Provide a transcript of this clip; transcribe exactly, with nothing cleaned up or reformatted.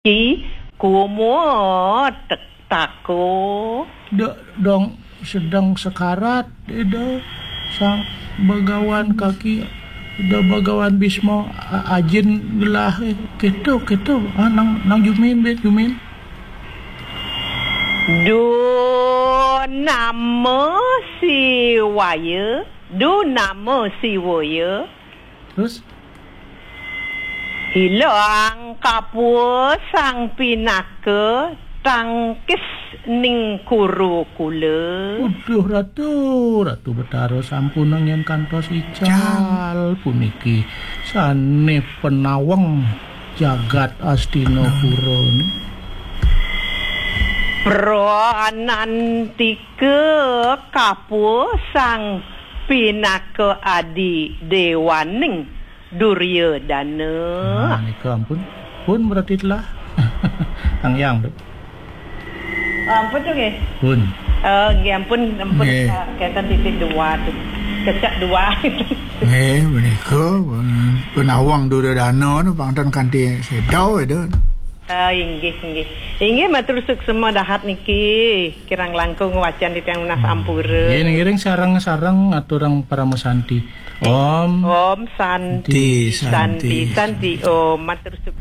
Ki kumo tek tako. Dek dong sedang sekarat, Ida. Sang Bagawan kaki, Ida Bagawan Bisma, a- ajin gelah, eh. Keto, keto. Ah, nang, nang jumin, bet jumin. Du nama si waya, du nama si waya. Terus? Ilang kapua sang pinaka tangkis ning kuru kula. Uduh, Ratu, Ratu Betara sampun angin kantos ical puniki. Sane penaweng jagat Astinapura ni. Pranantika kapua sang pinaka adi dewaning Duryodana. Nah, nika ampun. Pun berarti telah. Tang yang, Dek. Ampun tu nggih. Pun. Oh, nggih ampun, ampun. Nggih. Ah, kenten titik dua tu. Kecak dua. Nggih, menika penawang Duryodana nu pangten kanthi sedau, Ida. Ah, inggih, inggih. Inggih, matur suksema dahat niki. Kirang langkung wacan titiang nunas ampura. Nggih, ngiring sareng-sareng aturang parama santi. Om. Om Santi, Santi, Santi, Santi. Om, matur suksema.